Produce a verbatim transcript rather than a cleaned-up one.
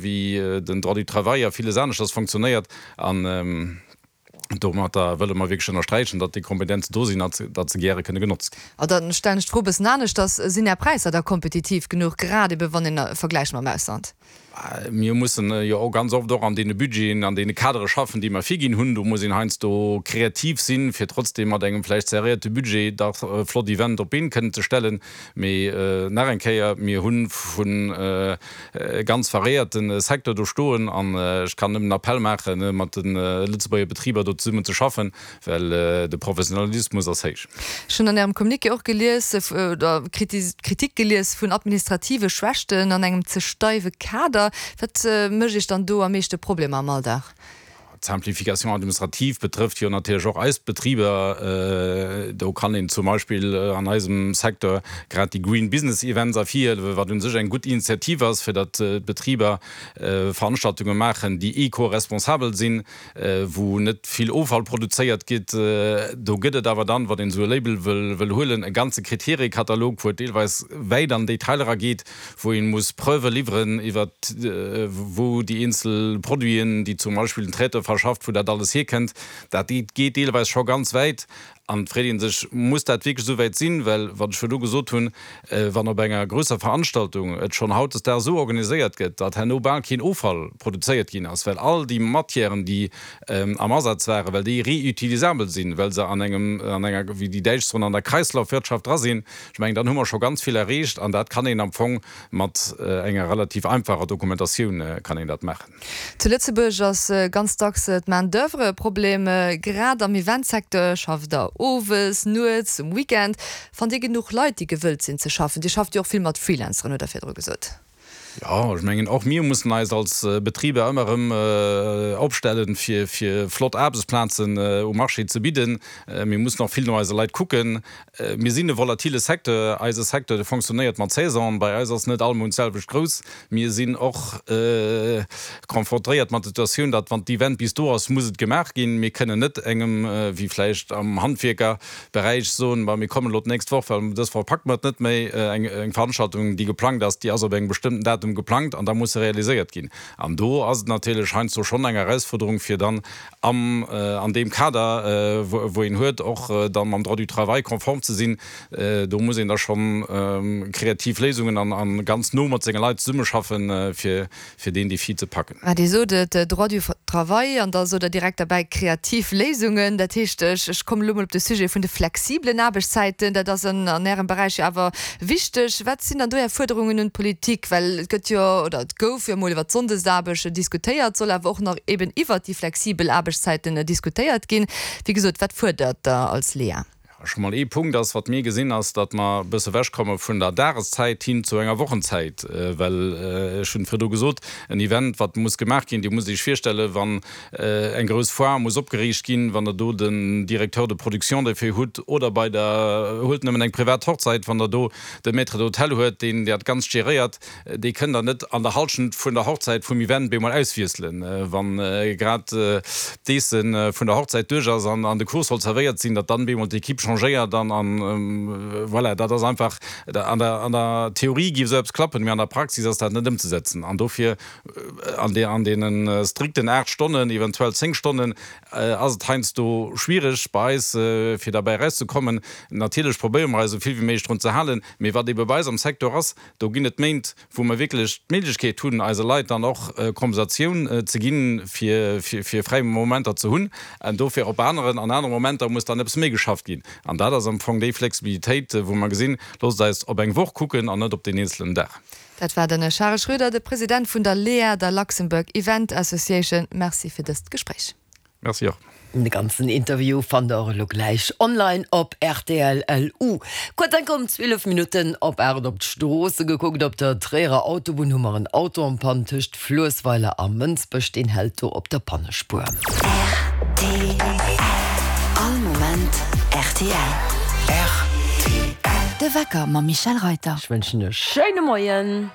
wéi den Droit du travail a villes aneschters fonctionnéiert. An domatter wëlle mer wierklech ënnersträichen, datt déi Kompetenzen do sinn a datt se gäre kënne genotzt ginn. A dann stellen ech d'Fro e bëssen aneschters, Sinn Är Präisser da kompetitiv genuch, grad ebe wann een vergläicht mam Ausland? Mir mussen jo och ganz oft och an deene Budgeten, an deene Kadere schaffen, déi mer virginn hunn. Do muss een heiansdo kreativ sinn, fir trotzdem mat engem vläicht serréierte Budget dach e flott Event op d'Been kënnen ze stellen. Mee nach eng Kéier, mir hu vu ganz variéierte Secteur do stoen an ech kann nëmmen den Appell maachen, mat de Lëtzebuerger Betriber do zesummen ze schaffen, well de Professionalismus ass héich. Ech hunn an Ärem Communiqué och gelies, oder Kritik gelies vun administrative Schwächten an engem ze steiwe Kader. Wat mécht Iech dann do am meeschte Problemer am Alldag? D'Simplification administrative betrëfft jo natierlech och eis Betriber. Do kann een zum Beispill an eisem Secteur grad déi Green Business Events ervirhiewen, wat u sech eng gutt Initiativ ass, fir datt d'Betriber Veranstaltunge maachen, déi eco-responsabel sinn, wou net vill Offall produzéiert gétt. Do gëtt et awer dann, wann een esou e Label wëll huelen, e ganze Kriteriekatalog, wou et deelweis wäit an Detailer erageet, wou ee muss Preuve liwweren iwwert wou déi eenzel Produiten, déi zum Beispill den Traiteur verschafft, wou dat alles hierkënnt. Dat geet deelweis scho ganz wäit. An et freet ee sech, Muss dat wierklech esou wäit sinn? Well, wat ech virdu gesot hunn, wann op enger grousser Veranstaltung et schonn hautdesdaags esou organiséiert gëtt, datt herno bal keen Offall produzéiert ginn ass, well all déi Matièren, déi am Asaz waren, well déi reutilisabel sinn, well se an engem, an enger, wéi déi Däitsch soen, an der Kreislaufwirtschaft dra sinn, ech mengen, dann hu mer scho ganz vill erreecht. An dat kann een am Fong mat enger relativ einfacher Dokumentatioun kann een dat maachen. Zu Lëtzebuerg ass ganz dacks d'Main d'oeuvre e Problem. Grad am Eventsecteur schafft der owes, nuets, um Weekend. Fannt Dir genuch Leit, déi gewëllt sinn ze schaffen? Dir schafft jo och vill mat Freelanceren, hutt Der virdru gesot. Jo, ech mengen, och mir mussen eis als Betriber ëmmer erëm opstellen, fir flott Aarbechtsplazen um Marché ze bidden. Mir mussen och vill no eise Leit kucken. Mir sinn e volatile Secteur. Eise Secteur, dee fonctionnéiert mat Saison. Bei eis ass net all Mount d'selwecht grouss. Mir sinn och konfrontéiert mat der Situatioun, datt wann d'Event bis do ass, muss et gemaach ginn. Mir kënnen net engem, wéi vläicht am Handwierkerberäich, soen, Ma mir kommen elo d'nächst Woch, well dës Woch packe mer et net méi. Eng Veranstaltung, déi geplangt ass, déi ass op engem bestëmmten Datum geplangt an da muss se realiséiert ginn. An do ass et natierlech heiansdo schonn eng Erausfuerderung, fir dann am, an deem Kader, wou een huet, och da mam Droit du travail konform ze sinn. Do muss een da schonn kreativ Léisungen an a ganz no mat senge Leit zesummeschaffen, fir fir deen Defi ze packen. Mä Dir sot et, Droit du travail, an da sot Der direkt derbäi kreativ Léisungen. Dat heescht, ech ech kommen elo mol op de Sujet vun de flexiblen Aarbechtszäiten. Dat ass an an Ärem Beräich jo awer wichteg. Wat sinn dann do Är Fuerderungen un d'Politik? Well et gëtt jo, oder et gouf jo emol iwwert d'Sonndesaarbecht diskutéiert, soll awer och nach eben iwwert déi flexibel Aarbechtszäiten diskutéiert ginn. Wéi gesot, wat fuerdert Der als LEA? Scho mol ee Punkt ass, wat mir gesinn, ass, datt mer e bësse ewechkomme vun der Dageszäit hin zu enger Wochenzäit. Well, ech hunn et virdru gesot, en Event, wat muss gemaach ginn, Dir musst Iech virstellen, wann eng grouss Foire muss opgeriicht ginn, wann Der do den Directeur de production derfir hutt oder bei der, huelt nëmmen eng privat Hochzeit, wann Der do de Maître d'hôtel huet, deen dat Ganzt geréiert, Déi kënnt Der net an der Halschent vun der Hochzäit vum Event bemol auswiesselen, wann grad d'Eesse vun der Hochzäit duerch ass an de Kuch soll zerwéiert sinn, datt dann bemol d'Equipe changéiert an voilà. Dat ass einfach, an der an der Theorie géif esou eppes klappen, mee an der Praxis ass dat net ëmzesetzen. An dofir an deene strikten aacht Stonnen, eventuell zéng Stonnen, ass et heiansdo schwiereg bei eis, fir derbäi erauszekommen. Natierlech probéiere mer eis esou vill wéi méiglech drun ze halen, mee wat ebe bei eis am Secteur ass, do ginn et Méint, wou mer wierklech d'Méiglechkeet hunn, eise Leit dann och Kompensatioun ze ginn, fir fräi Momenter ze hunn. An dofir op aneren, an anere Momenter muss dann eppes méi geschafft ginn. An dat ass am Fong déi Flexibilitéit, wou mer gesinn, loosst eis op eng Woch kucken an net op deen eenzelen Dag. Dat war den Charel Schroeder, de President vun der LEA, der Luxembourg Event Association. Merci fir dëst Gespréich. Merci och. De ganzen Interview fannt der och elo gläich online op rtl. Lu. Kuerz enk um zwielef Minutten op aacht op d'Stroosse gekuckt. Op der Tréierer Autobunn hu mer en Auto en panne tëscht Fluessweiler a Mënsbech. Deen hält do op der Pannespuer. Rtl. All Moment rtl. Rtl. De Wecker mam Michèle Reyter. Ech wënschen e schéine Moien.